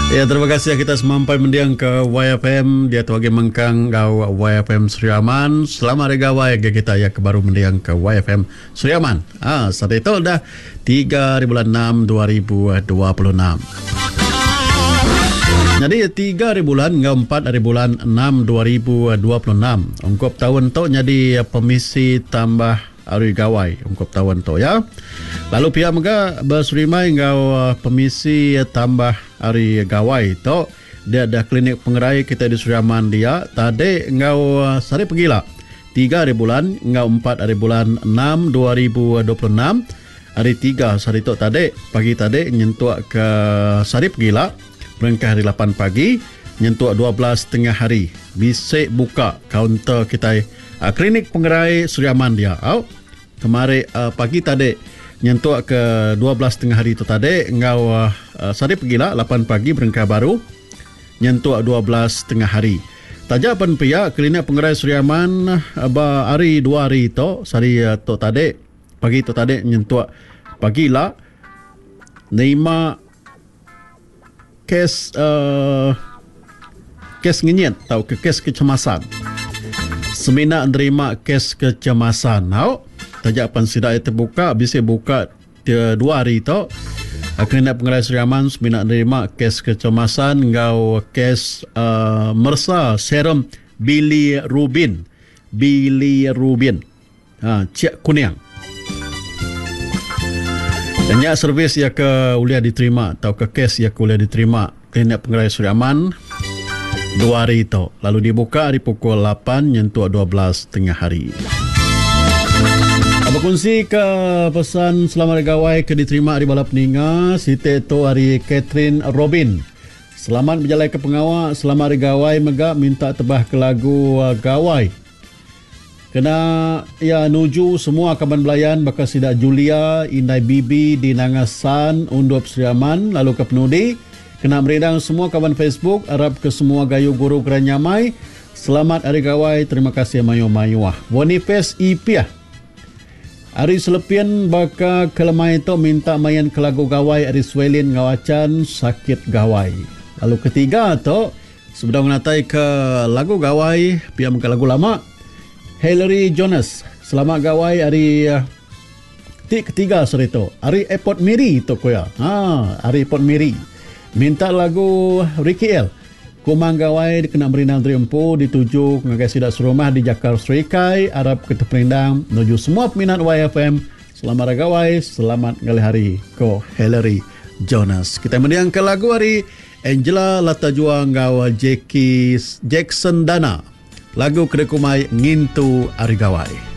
Ya, terima kasih kita semampai mendiang ke YFM dia tu agi mengkang enggau YFM Sri Aman. Selamat Hari Gawai agi kita ya ke baru mendiang ke YFM Sri Aman. Ah, saat itu dah 3 hari bulan 6 2026. Jadi 3 hari bulan enggau 4 hari bulan 6 2026. Ungkup taun tu nyadi pemisi tambah Hari Gawai ungkup taun tu ya. Lalu pia mega beserimbai enggau pemisi tambah Hari Gawai tu dia dah klinik pengerai kitai di Sri Aman dia tadi enggau sehari pegila tiga hari bulan enggau empat hari bulan enam 2026 hari tiga sehari tu tadi pagi tadi nyentuk ke sehari pegila berengkah hari lapan pagi nyentuk 12 tengah hari bisi buka kaunter kitai Klinik Pengerai Sri Aman dia au kemari pagi tadi nyentuk ke 12 tengah hari tu tadi enggau sehari pegila lapan pagi berengkah baru nyentuk 12 tengah hari. Taja pen pia Klinik Pengerai Sri Aman ba hari dua hari tu sehari tu tadi pagi tu tadi nyentuk pagi ila nerima Kes kes ngenyit tauka kes kecemasan. Semina nerima kes kecemasan au taja pan sida iya tebuka bisi buka dua hari tu Klinik Pengerai Sri Aman semina nerima kes kecemasan enggau kes uhh meresa serum bilirubin bilirubin. Ha, cik kuning. Dan nya servis iya ke ulih diterima tauka kes iya ke ulih diterima Klinik Pengerai Sri Aman dua hari tu lalu dibuka ari pukul 8 nyentuk 12 tengah hari. Bekunsi ke pesan selamat hari gawai ke diterima ari bala peninga siti tu ari Catherine Robin. Selamat bejalai ke pengawa, selamat hari gawai mega minta tebah ke lagu gawai. Kena iya nuju semua kaban belayan baka sida Julia, indai Bibi di Nanga San, Undup Sri Aman lalu ke penudi kena merindang semua kaban Facebook arap ke semua gayu guru gerai nyamai. Selamat Hari Gawai terima kasih mayuh-mayuh. Boniface Ipiah Ari Selepin baka ke lemai tu minta main ke lagu Gawai ari Swelin enggau Achan Sakit Gawai. Lalu ketiga tu Sebedau ngenatai ke lagu gawai pia mega lagu lama Hillary Jonas selamat gawai ari ti ketiga sehari tu ari airport Miri tu ku iya ha ari airport Miri minta lagu Ricky El Kumang Gawai dikena merindang diri empu dituju ngagai sida serumah di Jakar Serikai arap ke teperindang nuju semua peminat YFM selamat hari gawai selamat ngalih hari ko Hillary Jonas kitai mendingka lagu ari Angela Lata Jua enggau Jackie Jackson Dana. Lagu ke dikumbai Ngintu Hari Gawai.